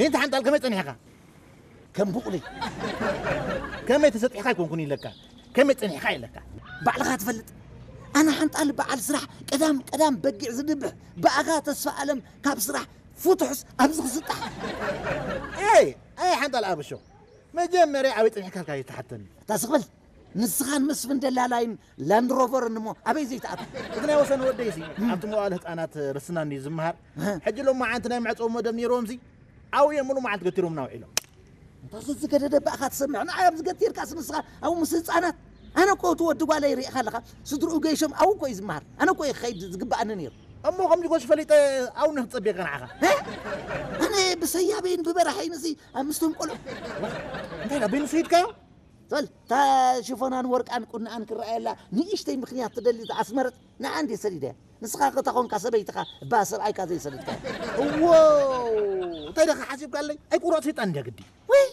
እንተ ሓንጣል ከመይ ጸኒሕካ? ከም ቡቕሊ። ከመይ ተሰጢሕካ ኣይኮንኩን ኢለካ፣ ከመይ ጸኒሕካ ኢለካ። ባዕልኻ ትፈልጥ። ኣነ ሓንጣል በዓል ስራሕ፣ ቀዳም ቀዳም በጊዕ ዝድብሕ፣ ብኣኻ ተስፋ ኣለም ካብ ስራሕ ፍቱሕስ ኣብዚ ክስጣሕ። ኣይ ኣይ ሓንጣል ኣብሾ፣ መጀመርያ ኣበይ ጸኒሕካ ኢልካ ይተሓተኒ። እታ ስቕበል። ንስኻን መስፍን ደላላይን ላንድ ሮቨርን እሞ ኣበይ ዘይትኣቱ? እቲ ናይ ወሰን ወደይሲ ኣብቲ መዋእለ ህፃናት ርስና እንድዩ ዝመሃር። ሕጂ ሎም መዓንቲ ናይ መዕፀዊ መደብ ነይርዎምሲ ኣብኡ እዮም ሙሉ መዓልቲ ገቲሮምና ውዒሎም። እንታ ዝገደደ ባእኻ ትሰምዕ ንዓይ ኣብዚ ገቲርካስ ንስኻ ኣብኡ ምስ ህፃናት። ኣነ እኮ እቲ ወዲ ጓለይ ርኢኻ ኣለኻ። ስድርኡ ገይሾም ኣብኡ እኮ እዩ ዝመሃር። ኣነ እኮ እየ ክኸይድ ዝግብኣኒ ነይሩ። እሞ ከምዚ ኮስ ፈሊጠ ኣብኡ ንክፀብየካ ንዓኻ። ኣነ ብሰያበይን ብበራሐይንሲ ኣብ ምስቶም ቆልዑ እንታይ ዳ በይኑ ሰይድካዮ? በል እታ ሽፎናን ወርቃን ቁንኣን ክረኣየላ ንእሽተይ ምኽንያት ትደሊ ዝኣስመረት ንዓ እንዴ ሰዲደያ። ንስኻ ከታ ኾንካ ሰበይትኻ እባ ሰብኣይካ ዘይሰደድካ። እዎ እንታይ ደኻ ሓሲብካለይ ኣይቁረፅ ሰይጣን እንድያ ግዲ። ወይ